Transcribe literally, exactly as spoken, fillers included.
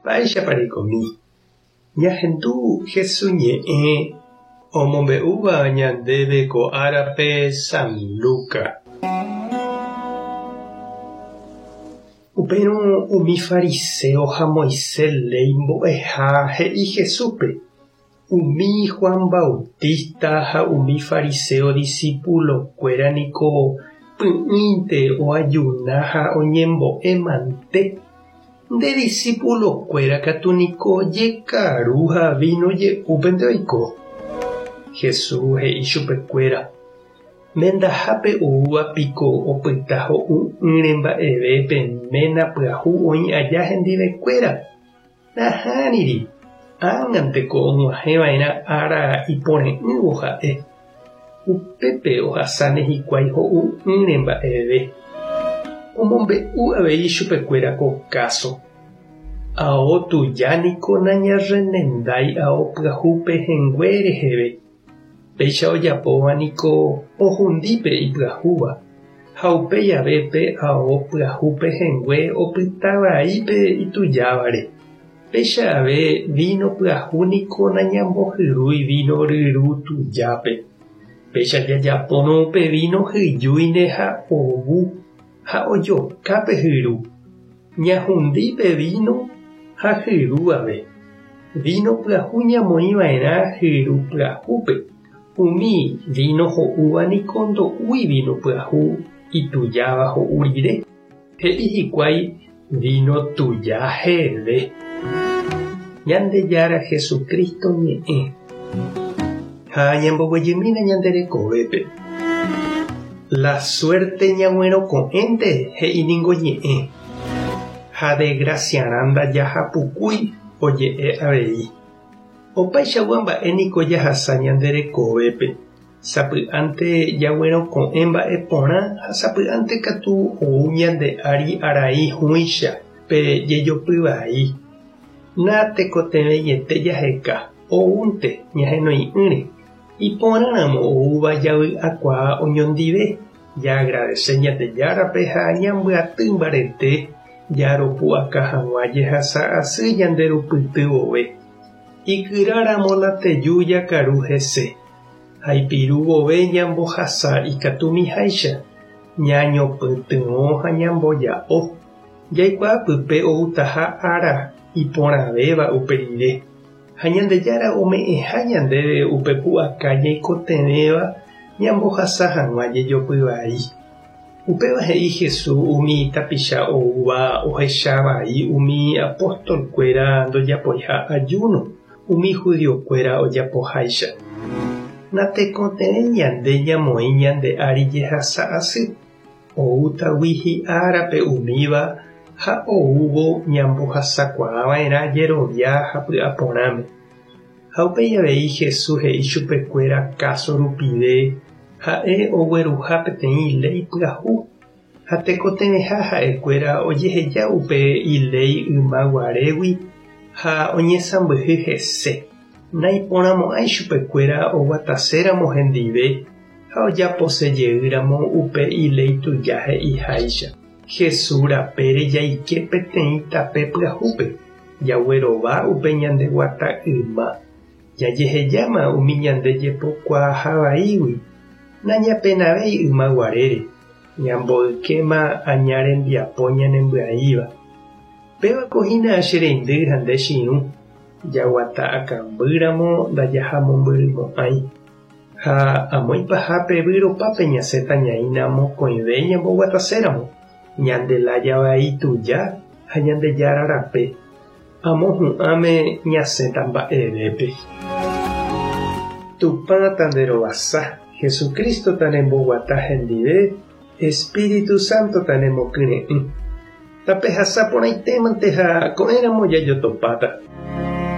Mba'éichapa reikomi. Ñahendu Jesús ñe'ẽ omombe'úva ñandéve ko árape San Lucas. Upérõ umi fariseo ha Moisés léi mbo'eha he'i Jesúspe. Umi Juan Bautista ha umi fariseo discípulo-kuéra niko py'ỹinte oajuna ha oñembo'e mante. Nde discípulo-kuéra katu niko jekaru ha vino je'úpente oiko. Jesús he'i chupekuéra. Mendahápe oúva piko opyta ho'u'ỹre mba'eve pe ména pyahu oĩ aja hendivekuéra. Nahániri. Ág̃anteko og̃uahẽva'erã ára ipore'ỹvo ha'e. Upépe ohasáne hikuái ho'u'ỹre mba'eve. Omombe'u avei chupekuéra ko káso. Ao tuja niko nañarrenendái ao pyahu pehẽngue reheve. Péicha ojapóva niko ohundípe ipyahúva ha upéi ave pe ao pyahu pehẽngue opytavaípe itujávare. Péicha ave vino pyahu niko nañambohyrúi vino ryru tujápe. Péicha jajapórõ pe vino hyjúine ha ovu ha ojokápe hyru. Ñahundípe vino ha hyru ave. Vino pyahu ñamoĩva'erã hyru pyahúpe. Umi vino ho'úva niko ndo'úi vino pyahu itujáva ho'u rire. He'i hikuái vino tuja heve. Ñandejára Jesucristo ñe'ẽ. Ha ñamboguejymína ñande rekovépe. La suerte ñag̃uerõko'ẽnte he'i ningo ñe'ẽ. Ha desgraciarã ndajahapukúi oje'e avei. Opaichagua mba'e niko jahasa ñande rekovépe. Sapy'ánte jaguerõko'ẽ mba'e porã ha sapy'ánte katu ou ñande ári arai hũicha pe jejopyvai. Natekotevẽiete jaheka oúnte ñahenoi'ỹre. Iporãramo oúva javy'akuaa oñondive. Jaagradece Ñandejárape ha ñambyaty mbarete jaropu'aka hag̃ua jehasa asy ñanderupytyvove. Ikyráramo nateju jakaru hese. Ha ipirúvove ñambohasa ikatumiháicha. Ñañopytyvõ ha ñamboja'o. Jaikuaápype outaha ára iporãvéva upe rire. Ha Ñandejára ome'ẽha ñandéve upe pu'aka ñaikotevẽva ñambohasa hag̃ua jejopyvai. Upéva he'i Jesús umi tapicha oúva ohechavai umi apóstol-kuéra ndojapoiha ayuno umi judío-kuéra ojapoháicha. Natekotevẽ ñande ñamoĩ ñande ári jehasa asy. Oútagui hi'árape umíva ha oúvo ñambohasakuaava'erã jerovia ha py'aporãme. Ha upéi avei Jesús he'i chupekuéra káso rupive ha'e ogueruha peteĩ léi pyahu ha tekotevẽha ha'ekuéra ojeheja upe iléi ymaguarégui ha oñesãmbyhy hese. Naiporãmo'ãi chupekuéra oguataséramo hendive ha ojaposejeýramo upe iléi tuja he'iháicha. Jesús rapére jaike peteĩ tape pyahúpe. Jaguerova upe ñandeguata yma. Jajehejáma umi ñande jepokuaahavaígui. Nañapenavéi ymaguarére. Ñamboykéma aña rembiapo ñanembya'íva. Pévako hína che reindy ha nde che irũ. Jaguata akambýramo ndajahamombyrýmo'ãi. Ha amo ipahápe vyropápe ñasẽta ñaína mokõive ñamboguataséramo. Ñande lájavai tuja ha Ñandejára rape. Amo hu'ãme ñasẽta mba'evépe. Tupã tanderovasa, Jesucristo tanemboguata hendive, Espíritu Santo tanemokyre'ỹ. Tapehasa porãitémante ha ko'ẽramo jajotopáta.